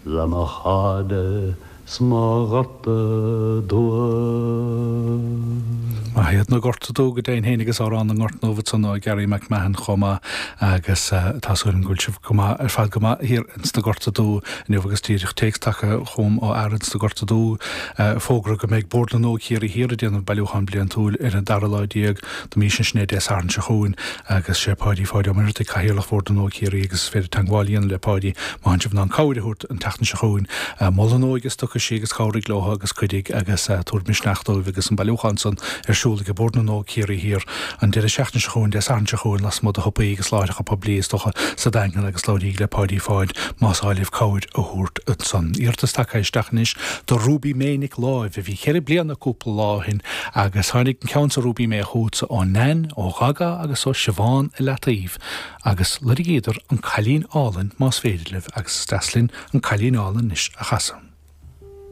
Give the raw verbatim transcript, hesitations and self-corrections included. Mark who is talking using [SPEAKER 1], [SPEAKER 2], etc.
[SPEAKER 1] Le mo chairde 's mo ghorta dubha.
[SPEAKER 2] Maith iad na Gorta Dubha go deimhin féin agus Amhrán na nGort nDubh ansan ó Gary McMahon chomh maith agus tá súil agam go bhfuil sibh go maith ar fad go maith thiar ins na Gorta Dubha inniu agus díreach téacs tagtha chugam ó fhear ins na Gorta Dubha fógra go mbeidh Bord na nÓg Chiarraí Thiar ag déanamh bailiúchán bliantúil ar an dara lá déag de mhí sin sin é Dé Sathairn seo chugainn agus sé Páidí Pháid Ó Muircheartaigh Cathaoirleach Bhord na nÓg Chiarraí agus is féidir teagmháil a dhéanamh le Páidí má tánn sibh in ann cabhair a thabhairt an tseachtain seo chugainn. Mol an óige stocaisí agus cabhraigh leo agus cuidigh agus tabhair misneach dóibh agus an bailiúchán san ar siúl ag Bord na nÓg Ciarraí Thiar an deireadh seachtaine seo chugainn Dé Sathairn seo chugainn lasmuigh de shiopaí agus láithreacha poiblí is dócha sa Daingean agus labhraígí le Páidí Pháid más áil libh cabhair a thabhairt ansan. Iarratas tagtha isteach anois do Ruby May Nic Láimh a bhí ceithre bliana cúpla lá ó shin agus tháinig an ceann seo Ruby May chugatsa ó Nan, ó Ghaga agus ó Siobhán i Leataobh agus lorgaíodar an Cailín Álainn más féidir libh agus is deas linn an Cailín Álainn anois a chasadh.